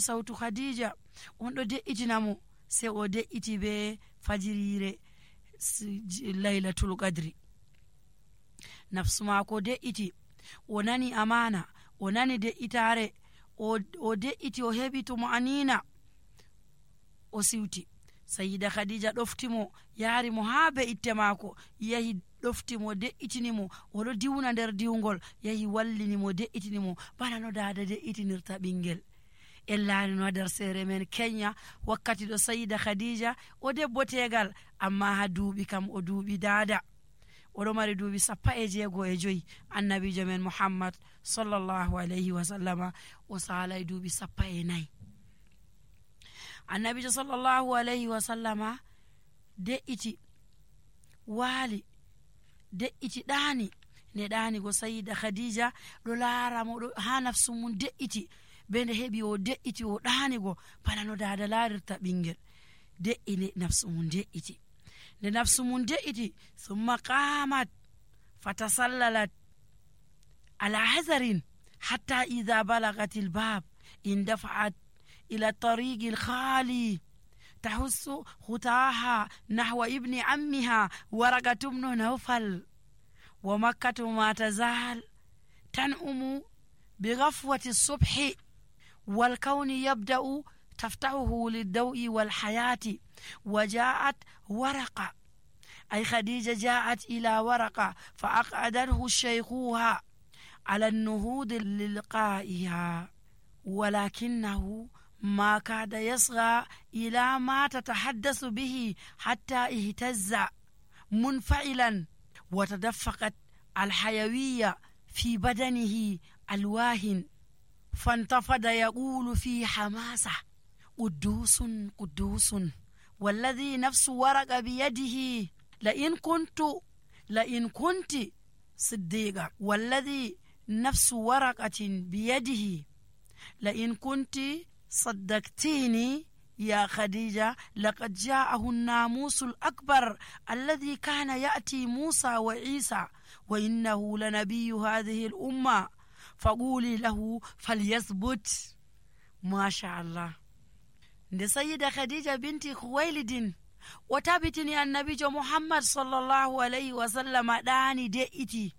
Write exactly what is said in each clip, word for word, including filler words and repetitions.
sautu Khadija on ɗo de'itinamo sai o de'iti be fajirire Lailatul Qadri. Nafsu maako de'iti, o nani amana, o nani de'itare, o, o de'iti o heɓi to mo anina o siwti. Sayyida Khadija ɗoftimo yaari mo haa be itte maako, yahi ɗoftimo de'itinimo, oɗo diwna nder diwgol, yahi wallinimo de'itinimo bana no dada de'itinirta ɓingel. En laari no nder sere men Kenya wakkati ɗo Sayyida Khadija o debbo tegal amma ha duuɓi kam o duuɓi dada, oɗo mari duuɓi sappa e jeego e joyi. Annabijo men Muhammad sallallahu alayhi wa sallama o salay duuɓi sappa e nayi. Annabijo sallallahu alayhi wa sallama de'iti waali, de'iti ɗaani, ne ɗaani go Sayyida Khadija ɗo laara mo ɗo ha nafsu mum de'iti, be nde heɓi o de'iti o ɗaani go bana no dada laarirta ɓingel. De'ini nafsu mum de'iti, nde nafsu mum de'iti summa qamat fatasallalat ala hazarin hatta idha balagatil bab indafa'at ila tariqil khali تحس خطاها نحو ابن عمها ورقة بن نوفل ومكة ما تزال تنعم بغفوة الصبح والكون يبدأ تفتحه للضوء والحياة. وجاءت ورقة أي خديجة جاءت إلى ورقة فأقعدته الشيخوها على النهوض للقائها، ولكنه ما كاد يصغى إلى ما تتحدث به حتى اهتز منفعلا وتدفقت الحيوية في بدنه الواهن، فانتفض يقول في حماسة قدوس قدوس والذي نفس ورق بيده لئن كنت لئن كنت صديقة والذي نفس ورقة بيده لئن كنت صدقتيني يا خديجة لقد جاءه الناموس الأكبر الذي كان يأتي موسى وعيسى وإنه لنبي هذه الأمة فقولي له فليثبت. ما شاء الله. nde Sayyida Khadija binti Khuwailidin o tabitini annabijo Muhammad sallallahu alayhi wa sallam ɗaani de'iti,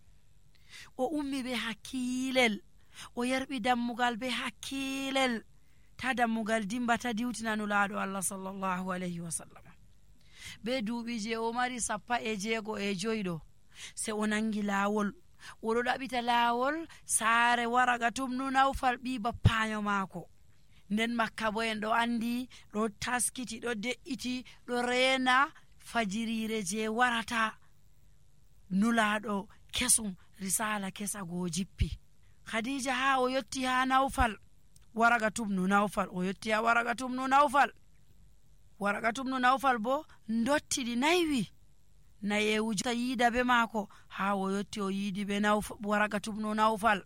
o ummi be hakkilel, o yarɓi dammugal be hakkilel, ta dammugal dimba ta diwtina nulaaɗo Allah sallallahu alayhi wa sallam. Be duuɓi je o mari sappa e jeego e joyɗo se o nangi laawol, oɗo ɗaɓita laawol saare Waraqa tumnu Nawfal ɓi bappayo maako. Nden Makka bo en ɗo andi ɗo taskiti ɗo de'iti ɗo reena fajirire je warata nulaaɗo kesum, risala kesa go jippi. Khadija ha o yotti ha Nawfal, Waraqa tumnu Nawfal, o yotti ha Waraqa tumnu Nawfal. Waraqa tumnu Nawfal bo ndottiɗi naywi nayewuji yiida be maako ha o yotti o yiidi be Waraqa tumnu Nawfal.